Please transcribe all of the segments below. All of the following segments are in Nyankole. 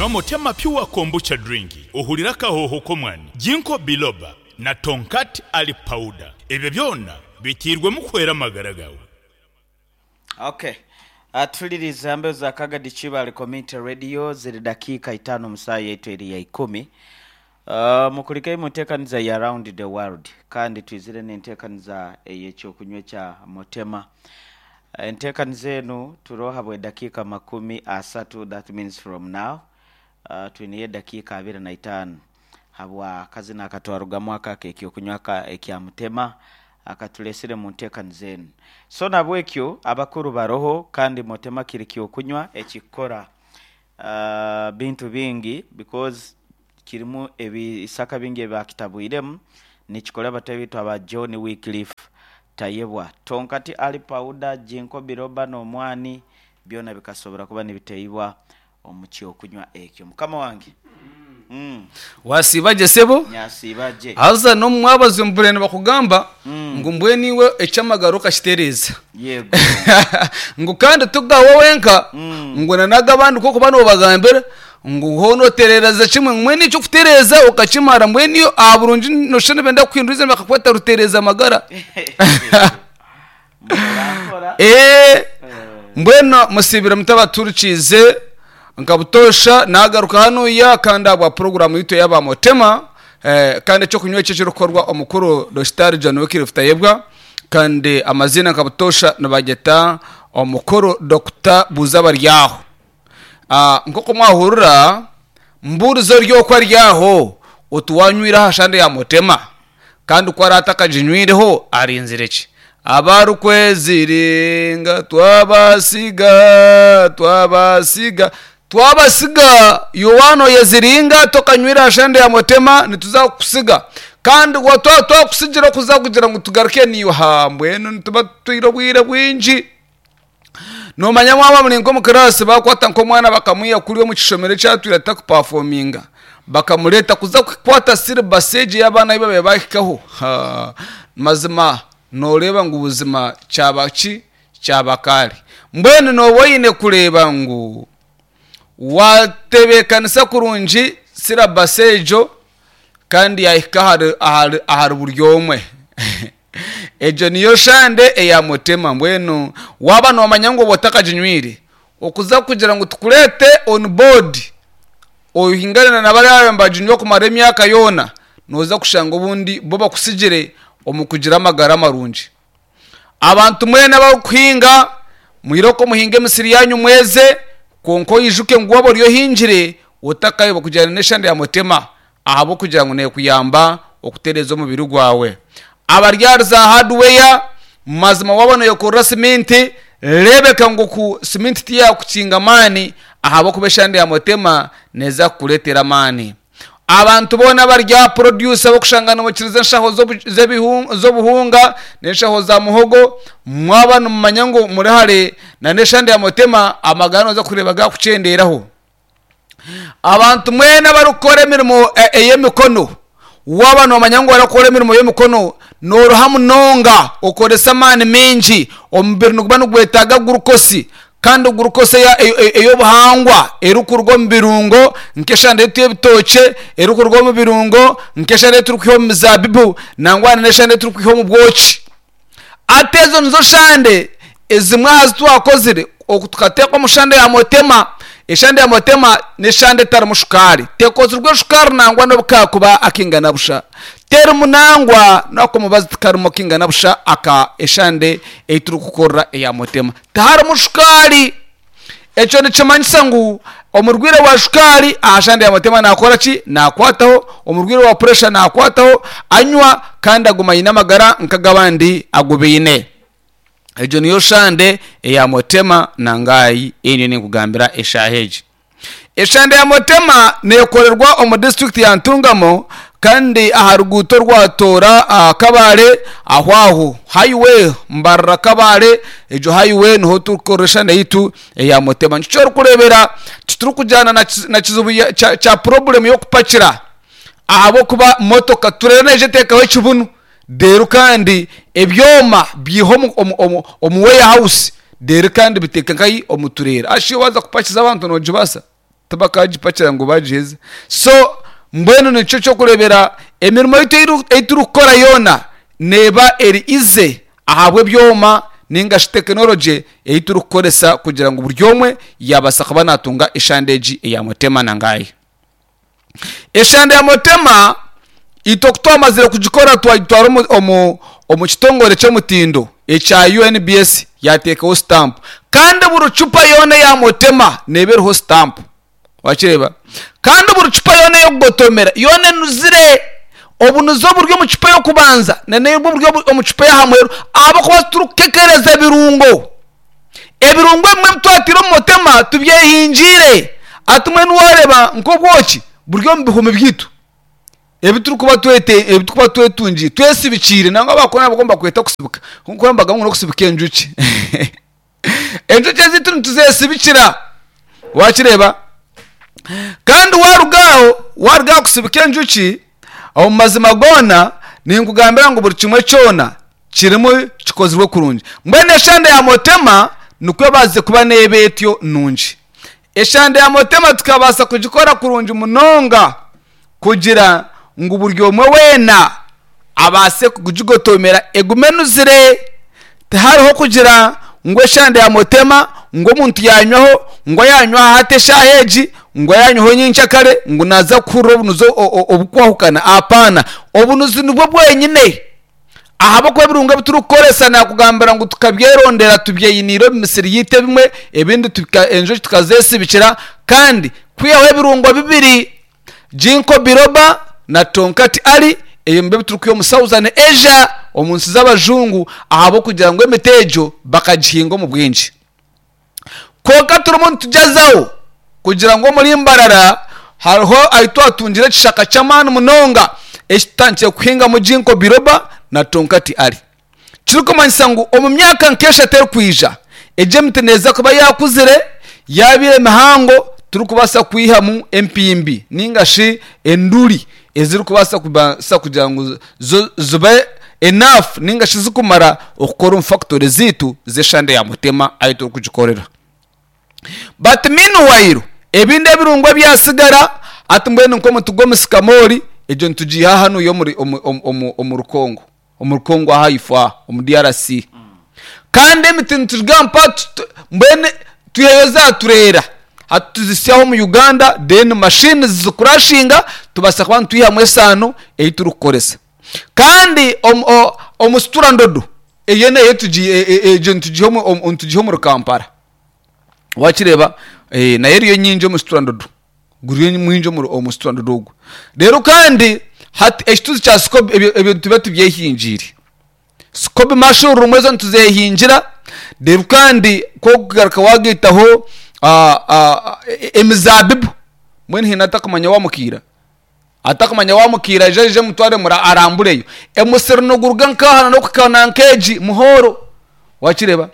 Nywa Motema Pure Kombucha Drink ohurire akahooho k'omwani, Ginkgo Biloba na Tongkat Ali Powder. Ebyo byona biteirwemu kuhwera amagara gaawe. Ok. Tuhuliriize aha mbeho za Kagadi Kibaale Community Radio ziri dakiika itaano omu saaha yaitu eri ya ikumi. Mukurikeyo mu nteekaniza ya Round the World kandi twizire n'enteekaniza ey'ekyokunywa ekya Motema. Enteekaniza enu turiho habw'edakiika makumi asatu that means from now twineyo edakiika abiri na itaano habwa kazina akatwarugamu aka ak'ekyokunywa aka ekya Mutema akatureesire mu nteekaniza enu. So nabwekyo abakuru baroho kandi Motema kiri kyokunywa ekikukora bintu bingi because kirimu ebisaka bingi ebi bakitabwiremu, nikikora bataahi baitu aba John Wycliffe Tayebwa. Tonkati Ali Powder, Ginkgo Biloba n'omwani byona bikasobora kuba nibiteibwa omu kyokunywa ekyo. Mukama wange. Wasiiba gye sebo? Nyasiiba gye. Haza n'omu mwabazyo mbure nibakugamba ngu mbwenu iwe eky'amagara okakitereeza. Yego. Ngu kandi ti gawe wenka, ngu na n'ag'abandi ku orikuba noobagambira, ngu hoona otereereza kimwe. Mbwenu eky'okutereeza okakimara, mbwenu iwe aha burungi nooshusha nibenda kukuhindura eiziina bakakweta Rutereeza magara. Mpora mpora. Ee, mbwenu musiibire muta abaturikiize nka butoosha naagaruka hanuya kandi ahabwa puroguraamu yaitu ey'aba Motema eh, kandi eky'okunywa eki ekirikukorwa omukuru Dokitaari John Wycliffe Tayebwa kandi amaziina nka butoosha nibagyeta omukuru Dokita Buuzabaryaho. Ah, nk'oku mwahurira mbuurize ori okwo ari aho oti waanywire aha shande ya Motema? Kandi ku araabe atakaginywireho, arinzire ki? Abarikweziringa twabasiga, twabasiga, twabasiga. Iwe waaba nooyeziringa tokanywire aha shande ya Motema, nituza kukusiga. Kandi twaba twakusigira okuza kugira ngu tugaruke naiwe, haa mbwenu nituba tutwire obwire bwingi. Noomanya mwaba muri nk'omu kiraasi baakwata nk'omwana bakamwiha kuriya omu kishomero eki atwire atarikupafominga bakamureeta kuza kukwata siribasi egi ey'abaana abu baabaire baahikaho, haa mazima nooreeba ngu buzima kyaba ki? Kyaba kaari. Mbwenu nooba oine kureeba ngu waatebeekanisa kurungi sirabasi egyo kandi yaahika ahari ahari buri omwe. Egyo niyo shande eya Mutema. Mbwenu waaba noomanya ngu oba otakaginywire, okuza kugira ngu tukureete on board ohingane na bariya abaabaire nibaginywa kumara emyaka yoona, nooza kushanga obundi bo bakusigire omu kugira amagara marungi. Abantu mwena abarikuhinga, mwirooko muhinge emisiri yaanyu mweze, kwonka oijuke ngu waaba ori ohingire, otakaayebwa kugyenda n'eshande ya Mutema ahabw'okugira ngu neekuyamba okutereeza omubiri gwawe. Abari ahari za hardware, mazima waaba nooyekorera siminti, reebeka ngu ku siminti tiyaakukinga maani ahabw'okuba eshande ya Mutema neeza kukureetera amaani. Abantu boona abari aha produce ab'okushanga nibokiriza enshaho z'obuhunga n'enshaho za muhogo, mwaba nimumanya ngu muri hare n'eshande ya Mutema, amagara nooza kureeba gaakukyenderaho. Abantu mwena abarikukora emirimo ey'emikono, waaba noomanya ngu orakora emirimo y'emikono, nooruha munonga, okoresa amaani maingi, omubiri niguba nigwetaaga gurukosi kandi gurukosi ey'obuhangwa erikuruga omu birungo nk'eshande yaitu y'ebitookye, erikuruga omu birungo nk'eshande ei turikwiha omu mizaabibu nangwa n'eshande ei turikwiha omu bwoki. Hati ezo nizo shande ezimwe aha zi twakozire oku tukateeka omu shande ya Motema. Eshande ya Motema n'eshande etarimu shukaari. Tekozirwe shukaari nangwa n'obu kaakuba akaingana busha. Terimu nangwa n'ak'omubazi tikarimu akaingana busha aka eshande ei turikukorera eya Motema. Tiharimu shukaari. Ekyo nikimanyisa ngu omurwaire wa shukaari aha shande ya Mutema naakora ki? Naakwataho, omurwaire wa puresha naakwataho, anywa kandi aguma aine amagara nk'ag'abandi agu baine. Egyo niyo shande eya Mutema nangaayi ei ndiyo ninkugambira eshaaha egi. Eshande ya Mutema neekorerwa omu disiturikiti ya Ntungamo kandi aha ruguuto orwa Toora Kabale aho aho highway Mbarara Kabale egyo highway niho turikukorera eshande yaitu eya Mutema. Nikyo orikureebera titurikugyana na kizibu kya purobulemu y'okupakira ahabw'okuba motoka tureeba neija eteekaho ekibunu reero kandi ebyoma biiha omu warehouse reero kandi biteeka nkahi omu tureera. Haza shi waaza kupakiza abantu noogibaasa? Tibakagipakira ngu bagiheze. So mbwenu nikyo ky'okureebera emirimo yaitu ei turikukora yoona neeba eri easy ahabw'ebyoma nainga shi tekinologye ei turikukoresa kugira ngu buri omwe yaabaasa kuba naatunga eshande egi eya Mutema na Ngaya. Eshande ya Mutema itwe ku twamazire kugikora twagitwara omu kitongore ky'omutindo ekya UNBS yaateekaho sitampu kandi buri cupa yoona eya Mutema neeba eriho sitampu. Wakireeba? Kandi buri cupa yoona ey'okugotomera yoona enuzire. Obunuzi oburi omu cupa ey'okubanza n'obwo oburi omu cupa ey'aha muheru ahabw'okuba titurikukekereza birungo. Ebirungo ebimwe ebi twataire omu mutima tubyehingiire. Hati mbwenu waareeba nk'obwoki buri omu bihumi byaitu ebi turikuba twete ebi turikuba twetungiire twesibikiire nangwa abakuru nabo nibakweta okusibika kwonka nibagamba ngu n'okusibika enjoki. Enjoki ezaitu nituzesibikira wakireeba kandi waruga aho waruga aha kusibika enjoki omu mazima goona ninkugambira ngu buri kimwe kyona kirimu kikozirwe kurungi mbwenu eshande ya motema nikwo ebaasize kuba neeba etyo nungi eshande ya motema tukabaasa kugikora kurungi munonga kugira ngu buri omwe weena abaase kugigotomera egume enuzire. Tihariho kugira ngu eshande ya mutema ngu omuntu yanywaho ngu ayanywaho hati eshaaha egi ngu ayanywaho nyenkyakare ngu naaza kuhurira obunuzi obukwahukana. Apaana, obunuzi nibwo bwenyine ahabw'okuba ebirungo ebi turikukoresa naakugambira ngu tukabyerondera tubyeyiniire omu misiri yaitu ebimwe ebindi enjoki tukazesibikira kandi kwihaho ebirungo bibiri. Ginkgo biloba na Tongkat Ali ebyo nibyo biturikwiha omu Southern Asia omu nsi z'abajungu ahabw'okugira ngu emiti egyo bakagihinga omu bwingi. Kwonka turimu nitugyezaho kugira ngu omuri Mbarara hariho ahu twatungire ekishaka ky'amaani munonga eki tutandikire kuhingamu Ginkgo biloba na Tongkat Ali. Kirikumanyisa ngu omu myaka nk'eshatu erikwija, egi emiti neeza kuba yaakuzire, yaabaire mihango turikubaasa kwihamu empimbi nainga shi enduri ezirikubaasa kubaasa kugira ngu zo zibe enough nainga shi zirikumara okukora omu fakitori zaitu z'eshande ya Mutema ahu turikugikorera. But meanwhile ebindi ebirungo ebyatsigara hati mbwenu nk'omuti gw'omusikamoori egyo nitugiiha hanuya omuri omu Rukongo. Omuri Congo aha ifo aha omu DRC. Kandi emiti nitugamba mbwenu twiheyo za tureera hati tuzisyaho omu Uganda then machines zikurashinga tubaasa kuba nitwihamu esaano ei turikukoresa. Kandi omusitura ndodo eyo nayo egyo nitugiiha omuri Kampala. Wakireeba? Nayo eriyo nyingi omusitura ndodo. Guriyo mwingi omuri omu strand ogwo. Reero kandi hati ekituzi kya sikobi ebyo ebyo nituba tubyehingiire. Sikobi mushroom ezo nituzehingira, reero kandi ku orikugaruka waagaitaho emizaabibu, mbwenu haine atakumanya waamukiira? Atakumanya waamukiira aije aije mutware arambureyo. Omusiri niguruga nk'aha n'okuhika na nk'egi muhooro, waakireeba?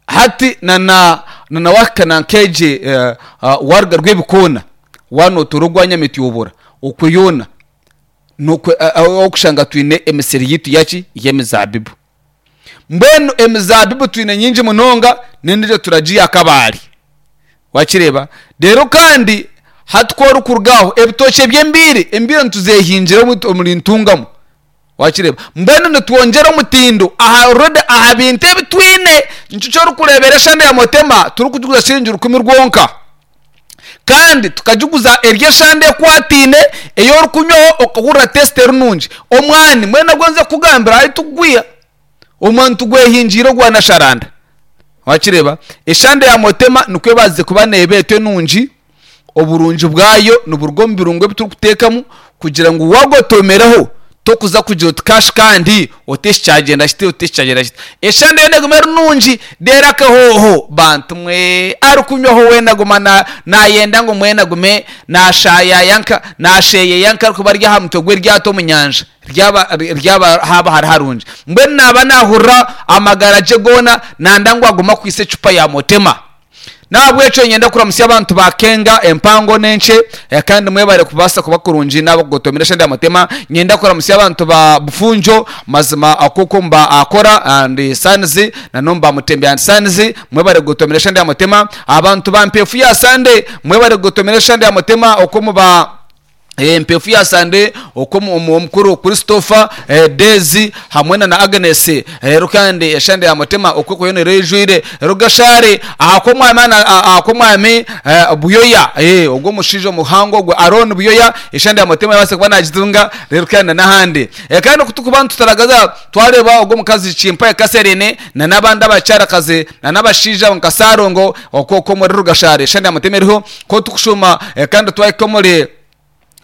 Hati na na na wahika na nk'egi waruga Rwebikoona waanotoora ogwa Nyamityobora okwe yoona n'okwe okushanga twine emisiri yaitu yaki y'emizaabibu. Mbwenu emizaabibu twine nyingi munonga n'endiijo turagiiha Kabale. Wakireeba? Reero kandi hati ku orikuruga aho ebitookye by'embiire, embiire nituzeehingira omuri Ntungamo. Wakireeba? Mbwenu nitwongyera omutindo aha already aha bintu ebi twine. Nikyo eki orikureebera eshande ya Motema turikugiguza shiringi rukumi rwonka. Kandi tukagiguza eri eshande ekwataine ei orikunywaho okahurira taste eri nungi. Omwani mbwenu nabwo nze kukugambira ahu tukugwiha, omwani tugwehingiire ogwa Nasharanda. Wakireeba? Eshande ya Motema nikwo ebaasize kuba neeba etyo enungi. Oburungi bwayo niburuga omu birungo ebi turikuteekamu kugira ngu waagotomereho tokuza kugira oti kashi kandi oti eki kyagyenda kiti oti eki kyagyenda kiti. Eshande yoona eguma eri nungi reero akahooho bantu mwe arikunywaho weena aguma naayenda ngu mbwenu agume naashaayaaya nka naasheeyeeya nk'arikuba ari aha mutwe gw'eryato omu nyanja ryaba ryaba haaba hari harungi. Mbwenu naaba naahurira amagara gye goona nanda ngu agume akwitse ecupa ya Motema. N'ahabw'ekyo niinyenda kuramutsya abantu ba Kenga empango n'enkye kandi mwebare kubaasa kuba kurungi n'abakugotomera eshande ya Mutema. Niinyenda kuramutsya abantu ba Bufunjo mazima okwo omu ba Akora and Sons na n'omu ba Mutembe and Sons mwebare kugotomera eshande ya Mutema. Abantu ba Mpeefu ya Sande mwebare kugotomera eshande ya Mutema okwo omu ba Empefu ya Sande okwo omukuru Christopher, Daisy hamwe na na Agnes reero kandi eshande ya Mutima okwo ekaba yoona eijwire Rugashare ahakw'omwami ahakw'omwami Buyoya ogwo omushaija omuhango ogwo Arooni Buyoya eshande ya Mutima yabaasa kuba nagitunga reero kandi na n'ahandi. Kandi ku turikuba nitutaragaza twareeba ogwo omukazi Chimpaye Catherine na n'abandi abakyarakazi na n'abashaija nka Sarongo okwo okwo omuri Rugashare eshande ya Mutima eriho ku turikushuuma kandi twahika omuri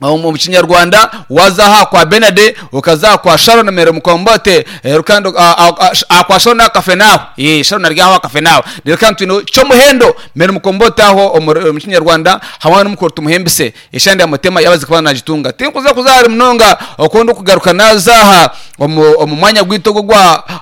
Omu kinyarwanda waza aha kwa Benard, okaza aha kwa Sharon Mary Mukombote, reero kandi aha kwa Sharon aha Kafenaaho, ee Sharon ari aho aha Kafenaaho. Reero kandi twine Kyomuhendo Mary Mukombote aho omu kinyarwanda hamwe n'omukuru Tumuhimbise. Eshande ya Mutema yabaze kuba nagitunga. Tinkuza kuza hare munonga oku ndikugaruka naza aha omu mwanya gwaitu ogu ogwa.